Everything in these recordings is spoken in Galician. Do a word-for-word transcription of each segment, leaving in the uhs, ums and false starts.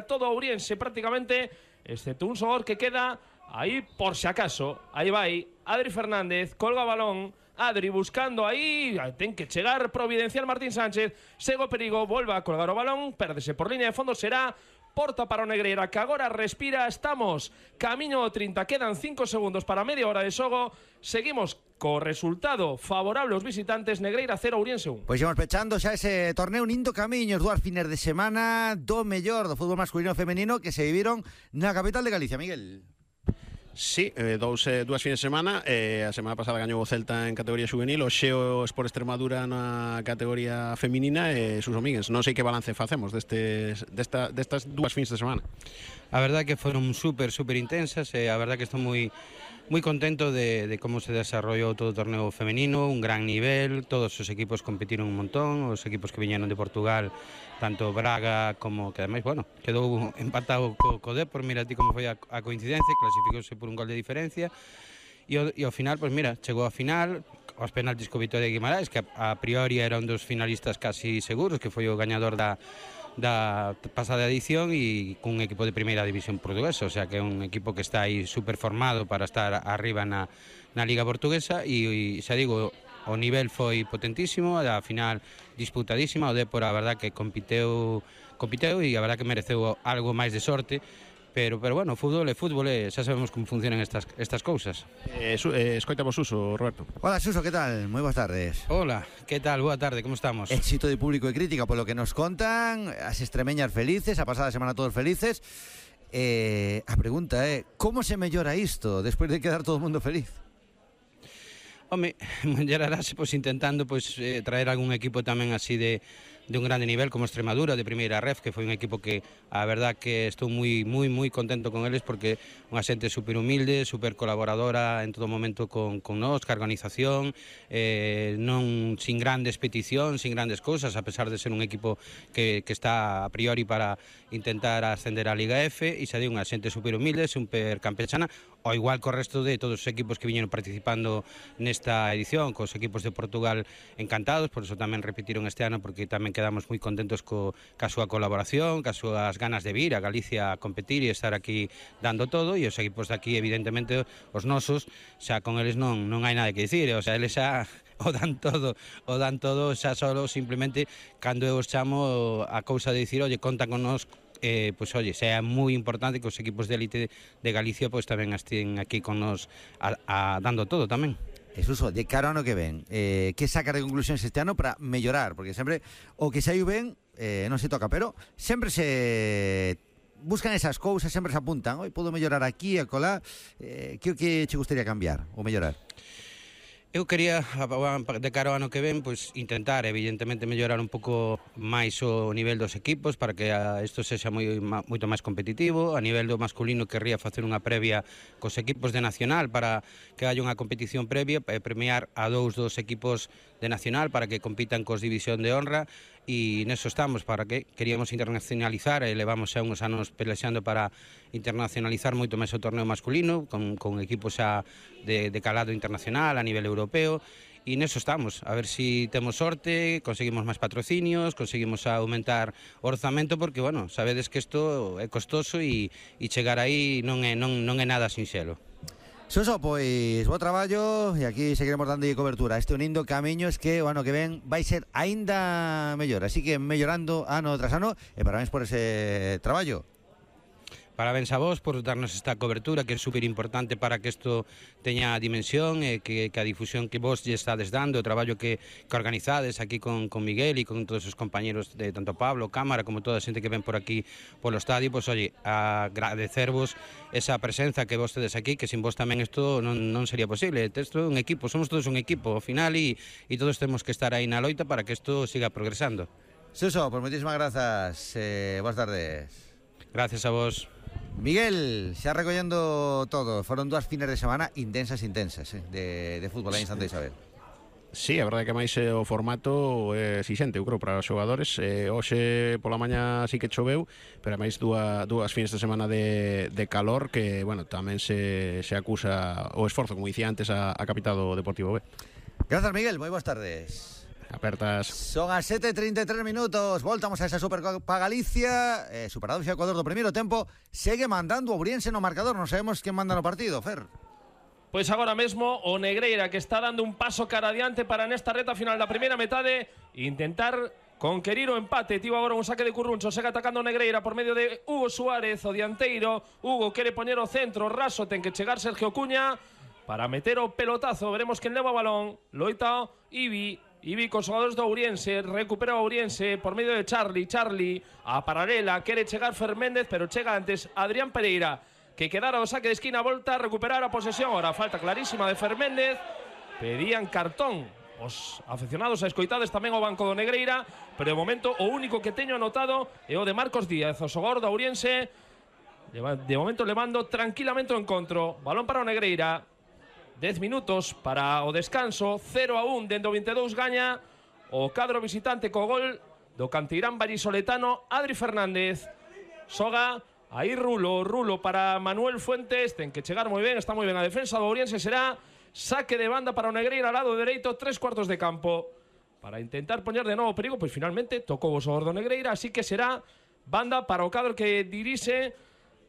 todo Ouriense prácticamente, excepto un Sogor que queda ahí por si acaso. Aí vai Adri Fernández, colga balón, Adri buscando aí, ten que chegar providencial Martín Sánchez, segue o perigo, volva a colgar o balón, pérdese por línea de fondo, será porta para o Negreira, que agora respira. Estamos camiño ao trinta, quedan cinco segundos para media hora de xogo. Seguimos co resultado favorable aos visitantes. Negreira cero, Ouriense un. Pois imos pechando xa ese torneo, un indo camiños, dúas fines de semana do mellor do fútbol masculino e femenino que se viviron na capital de Galicia, Miguel. Sí, eh, dous, eh, dúas fines de semana. eh, A semana pasada gañou o Celta en categoría juvenil, o Xeo Sport Extremadura na categoría feminina e Suso Míguez. Non sei que balance facemos destes, desta, destas dúas fins de semana. A verdade que foron super, super intensas e a verdade que estou moi moi contento de, de como se desarrollou todo o torneo femenino, un gran nivel, todos os equipos competiron un montón, os equipos que viñeron de Portugal, tanto Braga como que ademais, bueno, quedou empatado co, co Depor, mira ti como foi a, a coincidencia, clasificouse por un gol de diferencia, e ao, e ao final, pois mira, chegou a final, aos penaltis co Vitoria de Guimarães, que a, a priori era un dos finalistas casi seguros, que foi o gañador da da pasada edición e cun equipo de primeira división portuguesa, o sea que é un equipo que está aí super formado para estar arriba na, na Liga Portuguesa e, e xa digo, o nivel foi potentísimo, a final disputadísima, o Depor a verdad que compiteu, compiteu e a verdad que mereceu algo máis de sorte. Pero, pero bueno, fútbol é fútbol e xa sabemos como funcionan estas, estas cousas. Eh, su, eh, escoitamos Suso, Roberto. Hola Suso, que tal? Moi boas tardes. Hola, que tal? Boa tarde, como estamos? Éxito de público e crítica polo que nos contan, as extremeñas felices, a pasada semana todos felices. eh, A pregunta é, como se mellora isto despois de quedar todo o mundo feliz? Home, mellorarase pois, intentando pois, eh, traer algún equipo tamén así de, de un grande nivel como Extremadura, de primeira ref, que foi un equipo que a verdad que estou moi moi moi contento con eles porque unha xente super humilde, super colaboradora en todo momento con, con nós, ca organización, eh, non sin grandes peticións, sin grandes cousas, a pesar de ser un equipo que, que está a priori para intentar ascender a Liga F, e xa di unha xente super humilde, super campechana, ao igual co resto de todos os equipos que viñeron participando nesta edición, cos equipos de Portugal encantados, por eso tamén repetiron este ano, porque tamén quedamos moi contentos co, ca súa colaboración, ca súas ganas de vir a Galicia a competir e estar aquí dando todo, e os equipos de aquí, evidentemente, os nosos, xa con eles non, non hai nada que dicir, o sea, eles xa o dan todo, o dan todo xa solo simplemente cando eu os chamo a cousa de dicir, oye, conta con nós. Eh, pois, oye, sea moi importante que os equipos de élite de Galicia pois tamén estén aquí con nos a, a, dando todo tamén. Jesús, de cara ao ano que ven, eh, que sacar de conclusións este ano para mellorar? Porque sempre o que saiu ben eh, non se toca, pero sempre se buscan esas cousas, sempre se apuntan, oi, podo mellorar aquí, acolá, eh, que o que che gustaría cambiar ou mellorar? Eu quería, de cara ao ano que ven, pois intentar, evidentemente, mellorar un pouco máis o nivel dos equipos para que isto sexa moi, moito máis competitivo. A nivel do masculino, querría facer unha previa cos equipos de Nacional para que haya unha competición previa e premiar a dous dos equipos de Nacional para que compitan cos División de Honra, e neso estamos, para que queríamos internacionalizar e levamos xa uns anos pelexando para internacionalizar moito máis o torneo masculino con, con equipos xa de, de calado internacional a nivel europeo, e neso estamos, a ver se si temos sorte, conseguimos máis patrocinios, conseguimos aumentar o orzamento, porque, bueno, sabedes que isto é costoso e, e chegar aí non é, non, non é nada sinxelo. Suso, pois, bo traballo e aquí seguiremos dando cobertura. Este unindo camiños que o ano que ven vai ser aínda mellor, así que mellorando ano tras ano e parabéns por ese traballo. Parabéns a vos por darnos esta cobertura que é super importante para que isto teña dimensión e que, que a difusión que vos lle estades dando, o traballo que, que organizades aquí con, con Miguel e con todos os compañeros de tanto Pablo, Cámara, como toda a xente que ven por aquí polo estadio, pois, oye, agradecervos esa presenza que vos tedes aquí, que sin vos tamén isto non, non sería posible. Isto é un equipo, somos todos un equipo ao final e, e todos temos que estar aí na loita para que isto siga progresando. Suso, pues moitísimas grazas, eh, boas tardes. Gracias a vos. Miguel, xa recollendo todo, foron dúas fines de semana intensas, intensas, eh, de, de fútbol aí en Santa Isabel. Sí, a verdade que máis eh, o formato é exixente, eu creo, para os xogadores. eh, Hoxe pola mañá sí que choveu, pero máis dúas, dúas fines de semana de, de calor que, bueno, tamén se, se acusa o esforzo, como dicía antes, a, a capital do Deportivo B. Grazas, Miguel, moi boas tardes. Apertas. Son as sete e trinta e tres minutos. Voltamos a esa Supercopa Galicia. eh, Superado xa Ecuador do primeiro tempo. Segue mandando o Ourense no marcador. Non sabemos quen manda no partido, Fer. Pois agora mesmo o Negreira, que está dando un paso cara adiante para nesta reta final da primeira metade intentar conquerir o empate. Tivo agora un saque de Curruncho, segue atacando Negreira por medio de Hugo Suárez, o dianteiro. Hugo quere poñer o centro, raso, ten que chegar Sergio Cuña para meter o pelotazo. Veremos quen leva o balón. Loita Ibi, Ibi cos xogadores do Ourense, recupera o Ourense por medio de Charlie, Charlie a paralela, quere chegar Ferméndez, pero chega antes Adrián Pereira, que quedara o saque de esquina, volta a recuperar a posesión. Ahora falta clarísima de Ferméndez. Pedían cartón os afeccionados a escoitades tamén o banco do Negreira, pero de momento o único que teño anotado é o de Marcos Díaz, o xogador do Ourense. De momento levando tranquilamente o encontro. Balón para o Negreira. dez minutos para o descanso. cero a un dentro vinte e dous gaña o cadro visitante co gol do canteirán vallisoletano Adri Fernández. Soga aí Rulo, Rulo para Manuel Fuentes, ten que chegar moi ben, está moi ben a defensa do Ourense. Será saque de banda para o Negreira al lado dereito, tres cuartos de campo para intentar poñer de novo perigo. Pois finalmente tocou o xogador do Negreira, así que será banda para o cadro que dirixe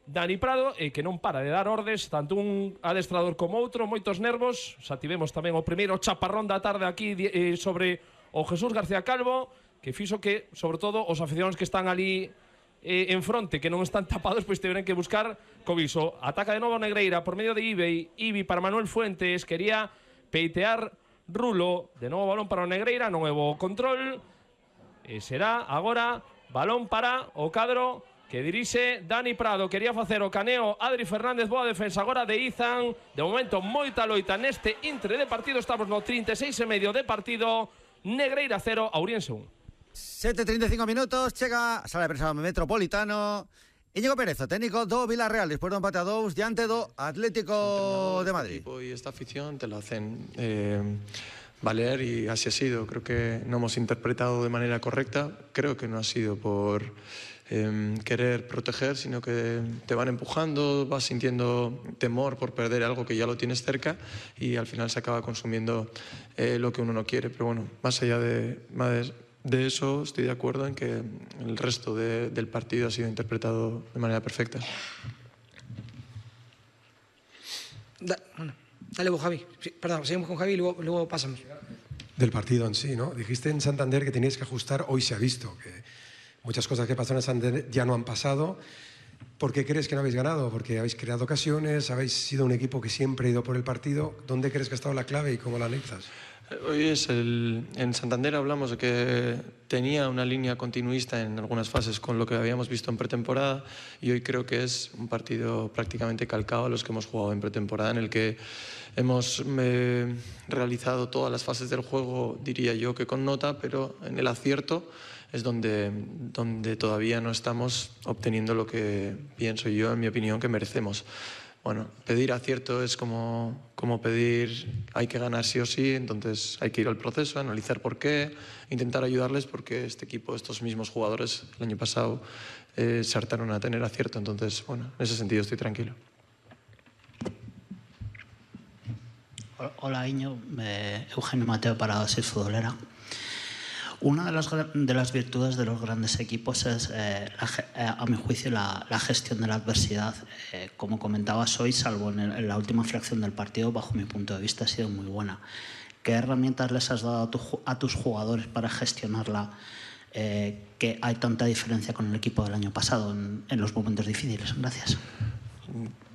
Dani Prado e que non para de dar ordes, tanto un adestrador como outro, moitos nervos. Xa tivemos tamén o primeiro chaparrón da tarde aquí eh, sobre o Jesús García Calvo, que fixo que, sobre todo, os aficionados que están ali eh, en fronte, que non están tapados, pois tiveron que buscar cobiso. Ataca de novo Negreira por medio de Ibi, Ibi para Manuel Fuentes, quería peitear Rulo, de novo balón para o Negreira, novo control, e será agora balón para o cadro que dirixe Dani Prado. Quería facer o caneo Adri Fernández, boa defensa agora de Izan. De momento moita loita neste intre de partido. Estamos no trinta e seis e medio de partido. Negreira cero, Ourense un. sete e trinta e cinco minutos, chega a sala de prensa metropolitano. Íñigo Pérez, o técnico do Villarreal, despois do empate a dous diante do Atlético de Madrid. Este equipo y esta afición te lo hacen eh, valer y así ha sido. Creo que no hemos interpretado de manera correcta. Creo que no ha sido por eh, querer proteger, sino que te van empujando, vas sintiendo temor por perder algo que ya lo tienes cerca y al final se acaba consumiendo eh, lo que uno no quiere. Pero bueno, más allá de... Más De eso estoy de acuerdo en que el resto de, del partido ha sido interpretado de manera perfecta. Da, bueno, dale vos, Javi. Sí, perdón, seguimos con Javi y luego, luego pasamos. Del partido en sí, ¿no? Dijiste en Santander que teníais que ajustar, hoy se ha visto, que muchas cosas que pasaron en Santander ya no han pasado. ¿Por qué crees que no habéis ganado? Porque habéis creado ocasiones, habéis sido un equipo que siempre ha ido por el partido. ¿Dónde crees que ha estado la clave y cómo la analizas? Hoy es el, en Santander hablamos de que tenía una línea continuista en algunas fases con lo que habíamos visto en pretemporada y hoy creo que es un partido prácticamente calcado a los que hemos jugado en pretemporada, en el que hemos eh, realizado todas las fases del juego, diría yo que con nota, pero en el acierto es donde, donde todavía no estamos obteniendo lo que pienso yo, en mi opinión, que merecemos. Bueno, pedir acierto es como, como pedir hay que ganar sí o sí, entonces hay que ir al proceso, analizar por qué, intentar ayudarles porque este equipo, estos mismos jugadores el año pasado eh, se hartaron a tener acierto, entonces bueno, en ese sentido estoy tranquilo. Hola Iño, eh, Eugenio Mateo para Oasis Futbolera. Una de las, de las virtudes de los grandes equipos es, eh, la, a mi juicio, la, la gestión de la adversidad. Eh, como comentabas hoy, salvo en, el, en la última fracción del partido, bajo mi punto de vista ha sido muy buena. ¿Qué herramientas les has dado a, tu, a tus jugadores para gestionarla? Eh, que hay tanta diferencia con el equipo del año pasado en, en los momentos difíciles. Gracias.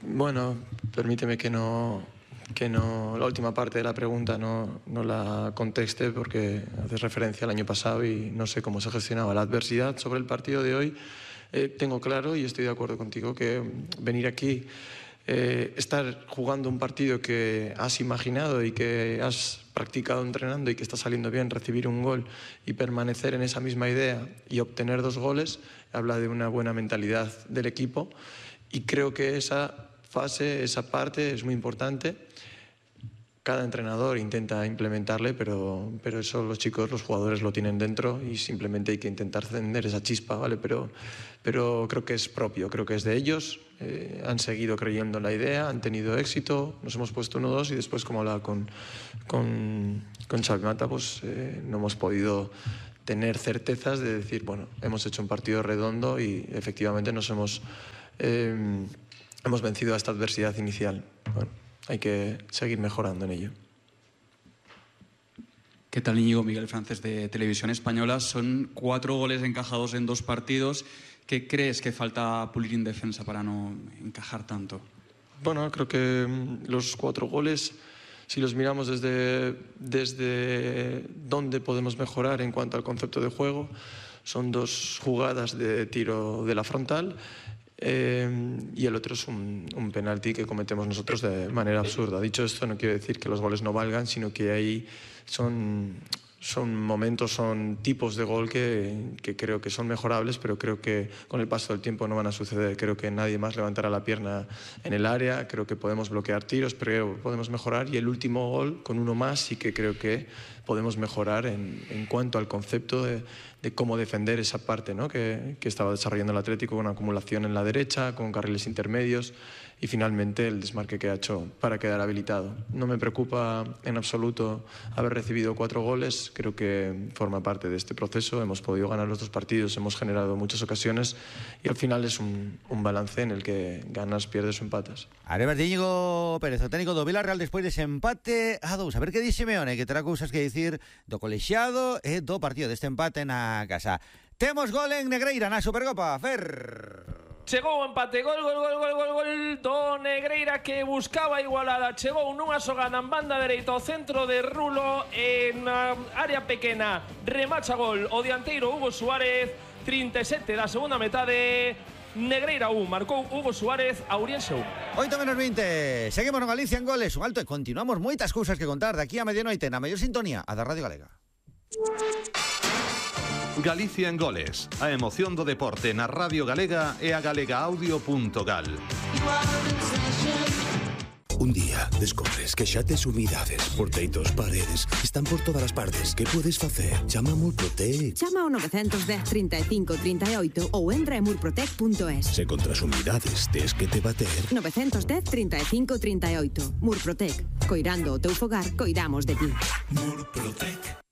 Bueno, permíteme que no... que no, la última parte de la pregunta no, no la conteste porque haces referencia al año pasado y no sé cómo se gestionaba la adversidad. Sobre el partido de hoy eh, tengo claro y estoy de acuerdo contigo que venir aquí, eh, estar jugando un partido que has imaginado y que has practicado entrenando y que está saliendo bien, recibir un gol y permanecer en esa misma idea y obtener dos goles, habla de una buena mentalidad del equipo y creo que esa fase, esa parte es muy importante. cada entrenador intenta implementarle, pero, pero eso los chicos, los jugadores lo tienen dentro y simplemente hay que intentar encender esa chispa, ¿vale? Pero, pero creo que es propio, creo que es de ellos, eh, han seguido creyendo en la idea, han tenido éxito, nos hemos puesto uno dos y después, como hablaba con, con, con Xavi Mata, pues eh, no hemos podido tener certezas de decir, bueno, hemos hecho un partido redondo y efectivamente nos hemos, eh, hemos vencido a esta adversidad inicial. Bueno, hay que seguir mejorando en ello. ¿Qué tal, Íñigo? Miguel Francés, de Televisión Española. Son cuatro goles encajados en dos partidos. ¿Qué crees que falta pulir en defensa para no encajar tanto? Bueno, creo que los cuatro goles, si los miramos desde, desde dónde podemos mejorar en cuanto al concepto de juego, son dos jugadas de tiro de la frontal. Eh, y el otro es un, un penalti que cometemos nosotros de manera absurda. Dicho esto, no quiere decir que los goles no valgan, sino que ahí son, son momentos, son tipos de gol que, que creo que son mejorables, pero creo que con el paso del tiempo no van a suceder. Creo que nadie más levantará la pierna en el área, creo que podemos bloquear tiros, pero podemos mejorar. Y el último gol, con uno más, sí que creo que podemos mejorar en, en cuanto al concepto de, de cómo defender esa parte, ¿no? que, que estaba desarrollando el Atlético, con acumulación en la derecha, con carriles intermedios y finalmente el desmarque que ha hecho para quedar habilitado. No me preocupa en absoluto haber recibido cuatro goles, creo que forma parte de este proceso, hemos podido ganar los dos partidos, hemos generado muchas ocasiones y al final es un, un balance en el que ganas, pierdes o empatas. Arepas de Íñigo Pérez, o técnico do Villarreal despois dese empate a dous. A ver que di Simeone, que terá cousas que dicir do colexiado e do partido deste empate na casa. Temos gol en Negreira na Supercopa, Fer. Chegou o empate, gol, gol, gol, gol, gol, gol do Negreira, que buscaba a igualada. Chegou nunha xogada en banda dereita ao centro de Rulo, en área pequena, remacha gol o dianteiro Hugo Suárez. trinta e sete da segunda metade. Negreira un, marcou Hugo Suárez, Auriense un. oito menos veinte, seguimos no Galicia en goles, un alto e continuamos moitas cousas que contar de aquí a medianoite na mellor sintonía, a da Radio Galega. Galicia en goles, a emoción do deporte na Radio Galega e a galegaaudio punto gal. Un día descobres que xa tes humidades por teitos, paredes, están por todas as partes. Que podes facer? Chama a Murprotec. Chama ao nove un cero, trinta e cinco, trinta e oito ou entra en murprotec punto es. Se contra as humidades tes que te bater. nove un cero, trinta e cinco, trinta e oito. Murprotec. Coirando o teu fogar, coidamos de ti. Murprotec.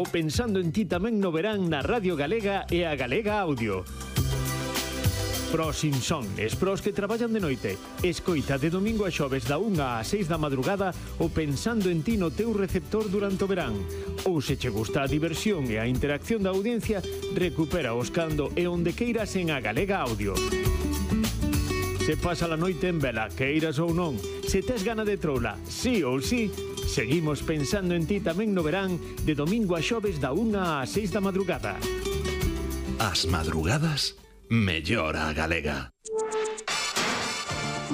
O pensando en ti tamén no verán na Radio Galega e a Galega Audio. Pros Inson, es pros que traballan de noite. Escoita de domingo a xoves da unha a seis da madrugada o pensando en ti no teu receptor durante o verán. Ou se che gusta a diversión e a interacción da audiencia, recupera os cando e onde queiras en a Galega Audio. Se pasa a noite en vela, queiras ou non, se tes gana de troula, sí ou sí, seguimos pensando en ti tamén no verán de domingo a xoves da unha a seis da madrugada. As madrugadas mellor a galega.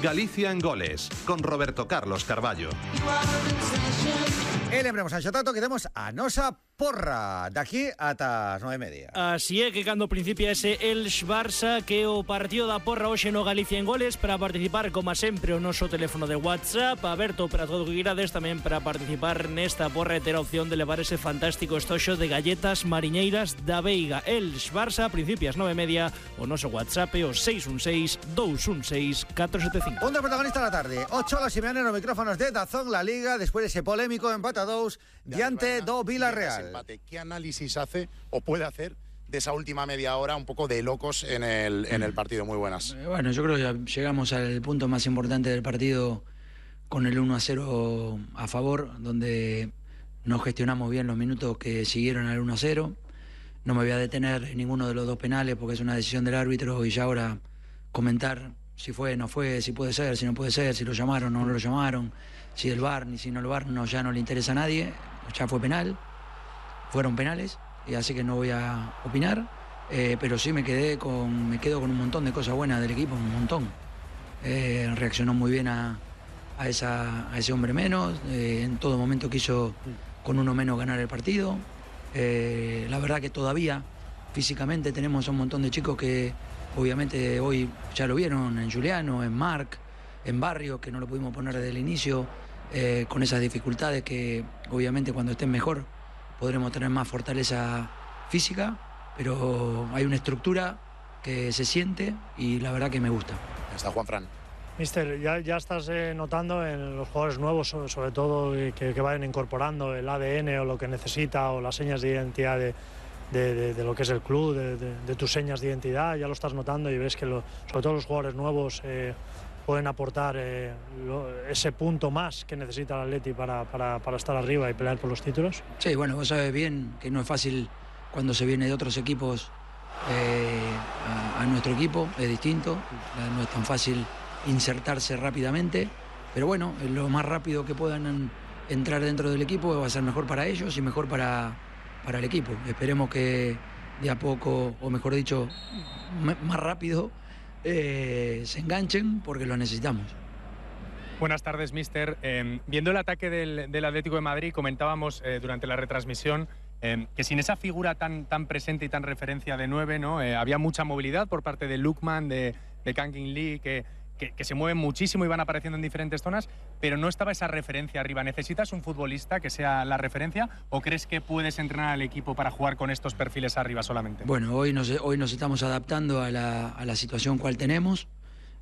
Galicia en goles, con Roberto Carlos Carballo. E lembremos a Xotato que temos a nosa porra daqui ata as nove e media. Así é que cando principia ese Elx-Barça, que o partido da porra hoxe no Galicia en goles, para participar, como sempre, o noso teléfono de WhatsApp aberto para todo o que quirades, tamén para participar nesta porra e ter a opción de levar ese fantástico estoxo de galletas mariñeiras da Veiga. Elx-Barça, principia as nove e media, o noso WhatsApp é o seis un seis, dous un seis, catro sete cinco. Un dos protagonistas da tarde, o Cholo Simeone nos micrófonos de Dazón La Liga, despois dese polémico empate a dous diante do Villarreal. ¿Qué análisis hace o puede hacer de esa última media hora un poco de locos en el, en el partido? Muy buenas. Eh, bueno, yo creo que ya llegamos al punto más importante del partido con el uno a cero a favor, donde no gestionamos bien los minutos que siguieron al uno a cero. No me voy a detener en ninguno de los dos penales porque es una decisión del árbitro y ya ahora comentar si fue, no fue, si puede ser, si no puede ser, si lo llamaron o no lo llamaron, si el V A R ni si no el V A R, no, ya no le interesa a nadie, ya fue penal. Fueron penales, y así que no voy a opinar, eh, pero sí me quedé con, me quedo con un montón de cosas buenas del equipo, un montón. Eh, reaccionó muy bien a, a, esa, a ese hombre menos, eh, en todo momento quiso con uno menos ganar el partido. Eh, la verdad que todavía físicamente tenemos un montón de chicos que obviamente hoy ya lo vieron, en Juliano, en Marc, en Barrio, que no lo pudimos poner desde el inicio, eh, con esas dificultades que obviamente cuando estén mejor podremos tener más fortaleza física, pero hay una estructura que se siente y la verdad que me gusta. Está Juanfran. Mister, ya, ya estás eh, notando en los jugadores nuevos, sobre, sobre todo eh, que, que vayan incorporando el A D N o lo que necesita o las señas de identidad de, de, de, de lo que es el club, de, de, de tus señas de identidad, ya lo estás notando y ves que lo, sobre todo los jugadores nuevos eh, pueden aportar eh, lo, ese punto más que necesita el Atleti para, para, para estar arriba y pelear por los títulos. Sí, bueno, vos sabés bien que no es fácil cuando se viene de otros equipos eh, a, a nuestro equipo, es distinto, no es tan fácil insertarse rápidamente, pero bueno, lo más rápido que puedan entrar dentro del equipo va a ser mejor para ellos y mejor para, para el equipo. Esperemos que de a poco, o mejor dicho, más rápido, eh, se enganchen porque lo necesitamos. Buenas tardes, mister. Eh, viendo el ataque del, del Atlético de Madrid, comentábamos eh, durante la retransmisión eh, que sin esa figura tan, tan presente y tan referencia de nueve, ¿no? Eh, había mucha movilidad por parte de Lookman, de, de Kang In Lee, que Que, que se mueven muchísimo y van apareciendo en diferentes zonas, pero no estaba esa referencia arriba. ¿Necesitas un futbolista que sea la referencia o crees que puedes entrenar al equipo para jugar con estos perfiles arriba solamente? Bueno, hoy nos, hoy nos estamos adaptando a la, a la situación cual tenemos.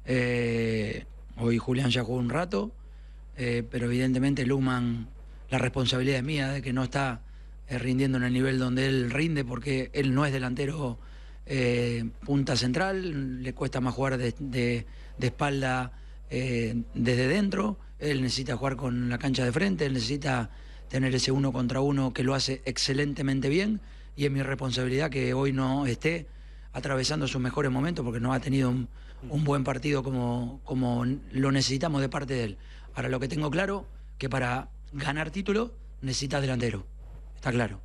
Eh, hoy Julián ya jugó un rato, eh, pero evidentemente Luhmann, la responsabilidad es mía de que no está eh, rindiendo en el nivel donde él rinde, porque él no es delantero eh, punta central, le cuesta más jugar de... de de espalda eh, desde dentro, él necesita jugar con la cancha de frente, él necesita tener ese uno contra uno que lo hace excelentemente bien y es mi responsabilidad que hoy no esté atravesando sus mejores momentos porque no ha tenido un, un buen partido como, como lo necesitamos de parte de él. Ahora lo que tengo claro, que para ganar título necesitas delantero, está claro.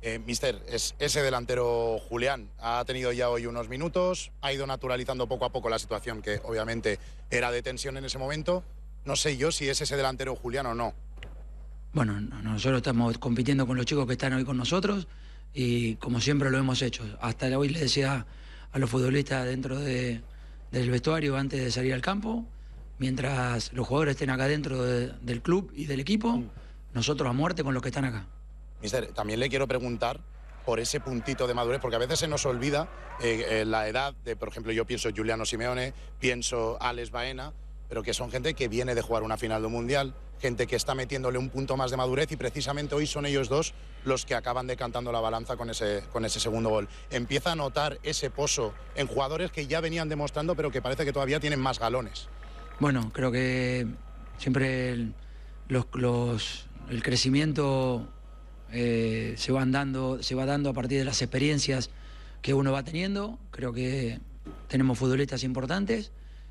Eh, mister, es ese delantero Julián ha tenido ya hoy unos minutos, ha ido naturalizando poco a poco la situación que obviamente era de tensión en ese momento. No sé yo si es ese delantero Julián o no. Bueno, nosotros estamos compitiendo con los chicos que están hoy con nosotros y como siempre lo hemos hecho. Hasta hoy le decía a los futbolistas dentro de, del vestuario antes de salir al campo, mientras los jugadores estén acá dentro de, del club y del equipo, nosotros a muerte con los que están acá. Mister, también le quiero preguntar por ese puntito de madurez, porque a veces se nos olvida eh, eh, la edad de, por ejemplo, yo pienso Giuliano Simeone, pienso Alex Baena, pero que son gente que viene de jugar una final de un mundial, gente que está metiéndole un punto más de madurez y precisamente hoy son ellos dos los que acaban decantando la balanza con ese, con ese segundo gol. Empieza a notar ese pozo en jugadores que ya venían demostrando, pero que parece que todavía tienen más galones. Bueno, creo que siempre el, los, los, el crecimiento... Eh, se van dando, se va dando a partir de las experiencias que uno va teniendo. Creo que tenemos futbolistas importantes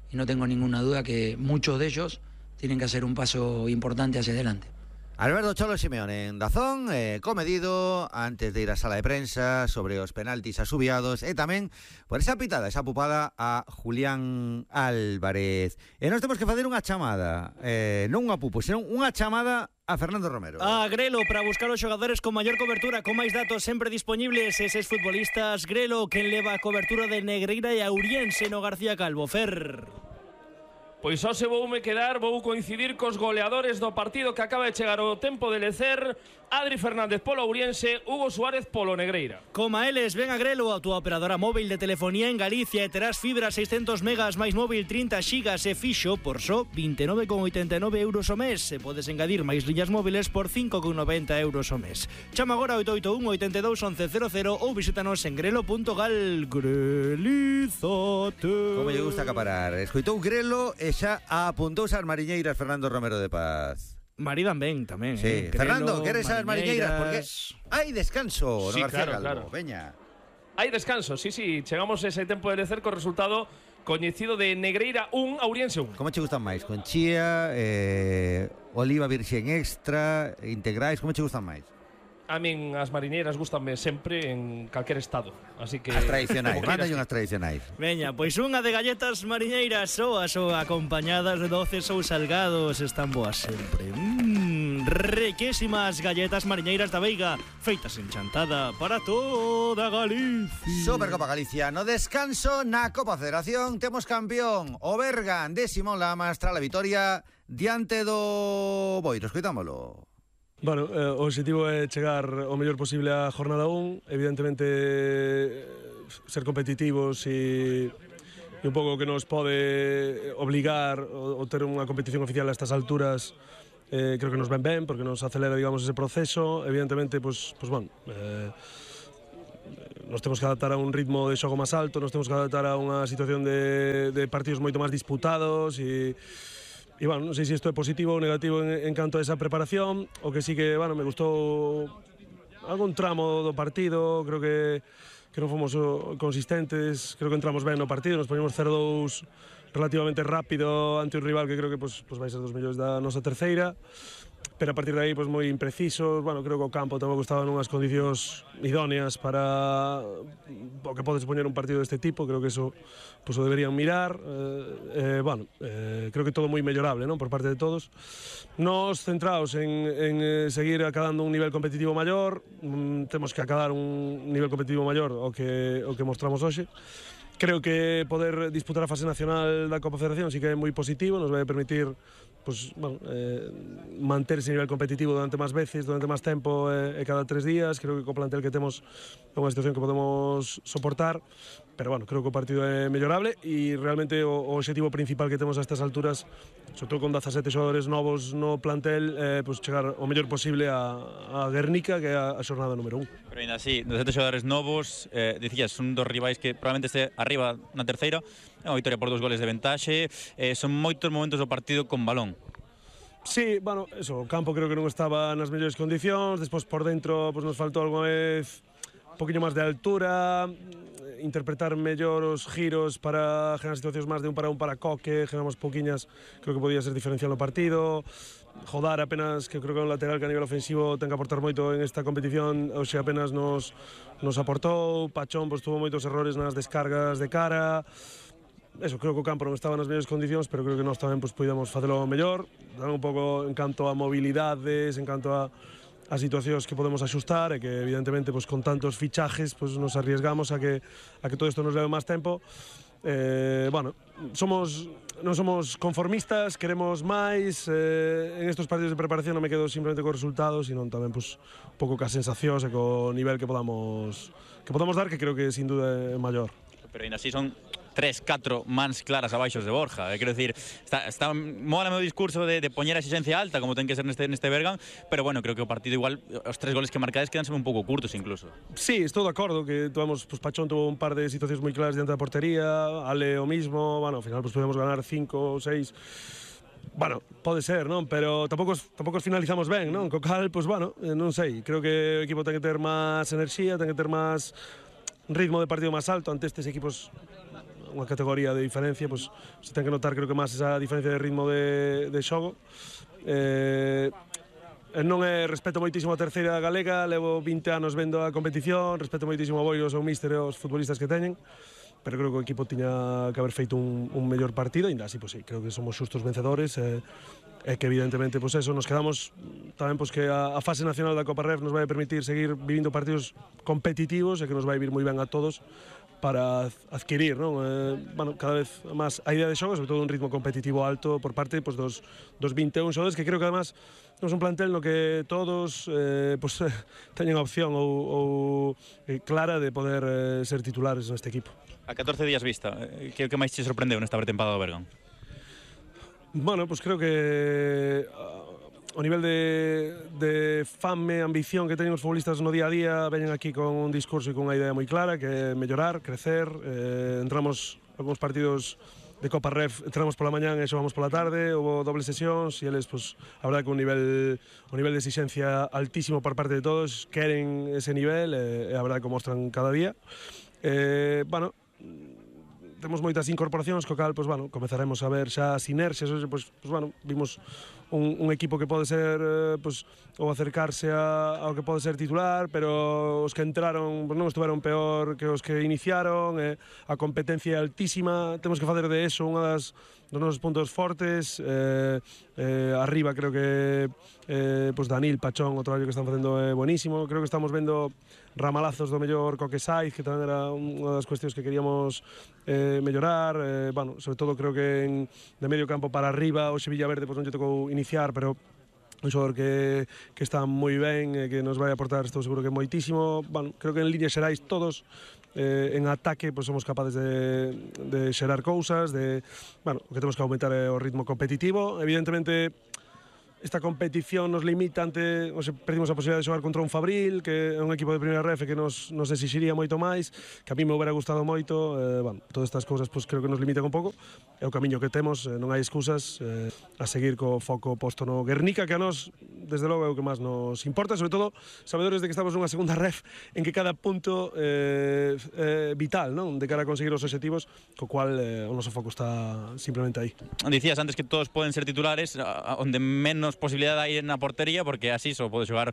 y no tengo ninguna duda que muchos de ellos tienen que hacer un paso importante hacia adelante. Alberto Cholo Simeone en Dazón, eh, comedido antes de ir a sala de prensa sobre os penaltis asubiados e tamén por esa pitada, esa pupada a Julián Álvarez. E nós temos que facer unha chamada, eh, non unha pupo, senón unha chamada a Fernando Romero. A Grelo para buscar os xogadores con maior cobertura, con máis datos sempre disponibles, eses futbolistas. Grelo, quen leva a cobertura de Negreira e Auriense no García Calvo. Fer. Pois só se voume quedar, vou coincidir cos goleadores do partido que acaba de chegar o tempo de lecer. Adri Fernández polo Auriense, Hugo Suárez polo Negreira. Coma eles, ven a Grelo, a túa operadora móvil de telefonía en Galicia e terás fibra seiscentos megas máis móvil trinta xigas e fixo por só vinte e nove con oitenta e nove euros o mes. E podes engadir máis liñas móviles por cinco con noventa euros o mes. Chama agora oito oito un, oito dos, once cero cero ou visítanos en grelo punto gal. Grelizate. Como lle gusta acaparar. Escoitou Grelo e xa apuntouse as mariñeiras Fernando Romero de Paz. Maridan ben tamén, sí. eh. Fernando, Grelo, queres as mariñeiras? Porque hai descanso sí, no García claro, Calvo. claro. Veña. Hai descanso, sí, sí. Chegamos a ese tempo de lecer co resultado coñecido de Negreira un, Auriense un. Como che gustan máis? Con chía, eh, oliva virxen extra, integrais, como che gustan máis? A min as mariñeiras gustanme sempre en calquer estado, así que as tradicionais, mándalle unhas tradicionais. Veña, pois unha de galletas mariñeiras, soas ou acompañadas de doces ou salgados, están boas sempre. Mmm, riquísimas galletas mariñeiras da Veiga, feitas en chantada para toda Galicia. Supercopa Galicia, no descanso na Copa Federación temos campeón o Bergan de Simón Lamas tras a vitoria diante do Boiro. Escoitámolo. Bueno, eh, o objetivo é chegar o mellor posible a jornada un, evidentemente ser competitivos e e un pouco que nos pode obligar o ter unha competición oficial a estas alturas, eh, creo que nos ven ben, porque nos acelera, digamos, ese proceso. Evidentemente, pues, pues bueno, eh, nos temos que adaptar a un ritmo de xogo máis alto, nos temos que adaptar a unha situación de, de partidos moito máis disputados e E, bueno, non sei se isto é positivo ou negativo en, en canto a esa preparación. O que sí que, bueno, me gustou algún tramo do partido, creo que que non fomos consistentes, creo que entramos ben no partido, nos poñemos cero dous relativamente rápido ante un rival que creo que pues, pues vai ser dos millóns da nosa terceira, pero a partir de aí pues, moi imprecisos. Bueno, creo que o campo tampouco estaba nunhas condicións idóneas para o que podes poñer un partido deste tipo. Creo que eso pues, o deberían mirar. Eh, eh, bueno, eh, creo que todo moi mellorable, non, por parte de todos. Nos centrados en, en eh, seguir acadando un nivel competitivo maior, mm, temos que acadar un nivel competitivo maior o que, o que mostramos hoxe. Creo que poder disputar a fase nacional da Copa Federación sí que é moi positivo, nos vai permitir pues, bueno, eh, manter ese nivel competitivo durante máis veces, durante máis tempo e eh, cada tres días. Creo que co plantel que temos é unha situación que podemos soportar, pero bueno, creo que o partido é mellorable e realmente o, o objetivo principal que temos a estas alturas, sobre todo con dezasete xogadores novos no plantel, é eh, pues, chegar o mellor posible a, a Guernica, que é a, a xornada número un. Pero ainda así, dezasete xogadores novos, eh, dicías, son dos rivais que probablemente este arriba na terceira, é unha victoria por dos goles de ventaxe, eh, son moitos momentos do partido con balón. Sí, bueno, eso, o campo creo que non estaba nas mellores condicións, despois por dentro pues, nos faltou alguna vez un poquinho máis de altura, interpretar mellor os giros para generar situacións máis de un para un para Coque, generamos pouquiñas, creo que podía ser diferencial no partido. Jodar apenas, que creo que é un lateral que a nivel ofensivo ten que aportar moito en esta competición, hoxe apenas nos, nos aportou. Pachón pues, tuvo moitos errores nas descargas de cara. Eso, creo que o campo non estaba nas mellores condicións, pero creo que nós tamén pues, podíamos facelo mellor. Tamén un pouco en canto a mobilidades, en canto a as situacións que podemos axustar e que evidentemente pues, con tantos fichajes pues, nos arriesgamos a que, a que todo isto nos leve máis tempo. Eh, bueno, somos, non somos conformistas, queremos máis. Eh, en estos partidos de preparación non me quedo simplemente co resultados, sino tamén pues, un pouco ca sensacións e co nivel que podamos, que podamos dar, que creo que sin duda é maior. Pero ainda así son tres, catro mans claras abaixos de Borja. Eh, quero dicir, está, está mola o meu discurso de, de poñer a exigencia alta, como ten que ser neste, neste Bergan, pero bueno, creo que o partido igual, os tres goles que marcades quedanse un pouco curtos incluso. Sí, estou de acordo, que tuvamos, pues, Pachón tuvo un par de situacións moi claras diante da portería, Ale o mismo, bueno, ao final pues, podemos ganar cinco ou seis. Bueno, pode ser, non? Pero tampouco, tampouco os finalizamos ben, non? Co cal, pues bueno, non sei, creo que o equipo ten que ter máis enerxía, ten que ter máis ritmo de partido máis alto ante estes equipos unha categoría de diferencia, pues, se ten que notar creo que máis esa diferencia de ritmo de, de xogo. Eh, non é, respeto moitísimo a terceira galega, levo vinte anos vendo a competición, respeto moitísimo a Boiro, o seu míster e os futbolistas que teñen, pero creo que o equipo tiña que haber feito un, un mellor partido, e ainda así, pues, sí, creo que somos xustos vencedores, e, e que evidentemente, pues eso, nos quedamos tamén pues, que a, a fase nacional da Copa Ref nos vai permitir seguir vivindo partidos competitivos e que nos vai vir moi ben a todos para adquirir, non? Eh, bueno, cada vez máis a idea de xogo, sobre todo un ritmo competitivo alto por parte pues, dos, dos vinte e un xogadores, que creo que además non é un plantel no que todos eh, pues, teñen a opción ou, ou eh, clara de poder eh, ser titulares neste equipo. A catorce días vista, que é o que máis te sorprendeu nesta pretempada do Bergan? Bueno, pues creo que o nivel de, de fame, ambición que teñen os futbolistas no día a día, veñen aquí con un discurso e con unha idea moi clara, que é mellorar, crecer. Eh, entramos algúns partidos de Copa Ref, entramos pola mañán e xogamos pola tarde, houve dobles sesións e eles, pues, a verdade que un nivel, un nivel de exigencia altísimo por parte de todos, queren ese nivel e, e a verdade que o mostran cada día. Eh, bueno, temos moitas incorporacións, co cal, pois, bueno, comezaremos a ver xa sinerxias, pois, pois, bueno, vimos un, un equipo que pode ser, eh, pois, ou acercarse a, ao que pode ser titular, pero os que entraron, pois, non estuveron peor que os que iniciaron, eh, a competencia é altísima, temos que facer de eso unha das dos nosos puntos fortes, eh, eh, arriba creo que eh, pues Danil, Pachón, o traballo que están facendo é buenísimo, creo que estamos vendo ramalazos do mellor Coque Saiz, que tamén era unha das cuestións que queríamos eh, mellorar, eh, bueno, sobre todo creo que en, de medio campo para arriba o Sevilla Verde pues non lle tocou iniciar, pero un xogador que, que está moi ben, eh, que nos vai aportar, estou seguro que moitísimo. Bueno, creo que en líneas xerais todos eh, en ataque pues, somos capaces de, de xerar cousas, de, bueno, o que temos que aumentar é o ritmo competitivo. Evidentemente, esta competición nos limita ante, o sea, perdimos a posibilidade de xogar contra un Fabril, que é un equipo de primeira ref que nos, nos exixiría moito máis, que a mí me hubiera gustado moito, eh, bueno, todas estas cousas pues, creo que nos limitan un pouco, é o camiño que temos, eh, non hai excusas, eh, a seguir co foco posto no Guernica, que a nós, desde logo, é o que máis nos importa, sobre todo, sabedores de que estamos nunha segunda ref en que cada punto é eh, eh, vital, non? De cara a conseguir os obxectivos, co cual eh, o noso foco está simplemente aí. Dicías antes que todos poden ser titulares, onde menos posibilidade hai na portería, porque así só pode xogar